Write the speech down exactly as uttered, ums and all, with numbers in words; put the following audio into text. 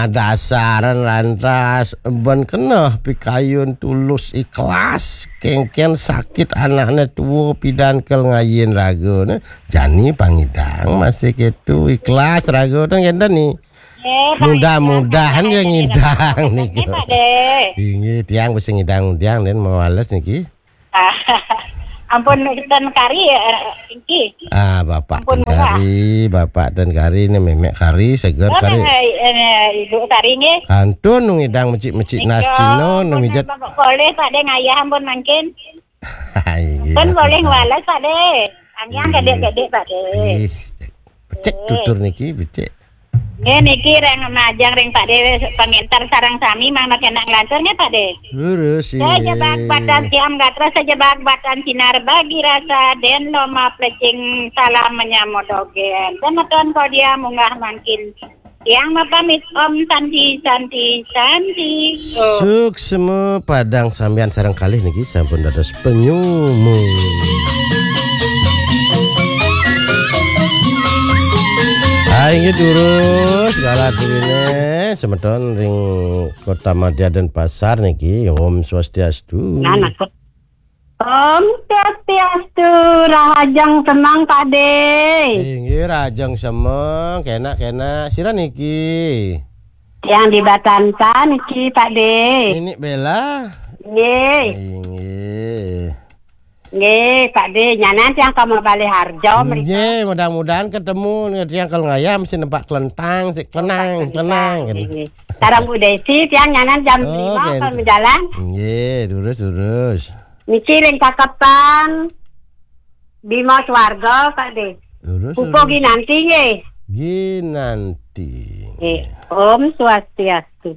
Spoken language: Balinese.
Dasaran lantas, ban keneh pikayun tulus ikhlas, kéngkén sakit anakné tuwuh pidan kel ngayin ragané. Jani pangidang masih kéto ikhlas raga ten kénten ni. Mudah-mudahan ya ngidang niku. Pak De. Inggih, tiang bisa ngidang undian dan mawales niki. Ampun, ten kari, eh, Inki. Ah, Bapak Ampun, ten kari, Bapak ten kari, ni memek kari, seger kari. Eh, Ibu kari nggih. Kantun nu ngidang mecik-mecik nas Cina, nu mijet. Boleh Pak De ngayah ampun mangkin. Inggih, Pun boleh ngwales Pak De. Anggiang gedek-gedek Pak De. Ih, becik tutur niki, becik. Nggih niki ring majeng ring Pak De, panginter sareng sami mangda kena nglantur nggih Pak De. Lurus, Sejebak batan siam gatra, sejebak batan sinar bagi rasa, den loma plecing salam menyambut dogén. Semeton kodia munggah mangkin. Tiang mapamit, Om Santi, Santi, Santi. Oh. Suksma padang sambian sareng kalih niki sampun dados penyumu. Ah, inggih durus, galah durine, semeton ring Kota Madya Denpasar niki, Om Swastiastu. Nah, nah, Om Swastiastu, rahajeng semeng Pak De. Inggih, rahajeng semeng, kenak-kenak. Sira niki? Yang di Batansa niki Pak De. Nini Bella. Nggih. Inggih. Nggih, Pak De, nyanan tiang ka Mabalih Harjo mriki. Nggih, mudah-mudahan ketemu tiang kalau ngayam sih nempak kelentang, sih kelenang, kelenang. Nggih. Sareng Bu Desi tiang nyanan jam Oh, lima nggih. Kalau jalan. Nggih, durus, durus. Niki ring Cakepan Bima Swarga, Pak De. Lurus, Pupuh lurus. Ginanti nggih. Ginanti. Nggih. Om Swastiastu.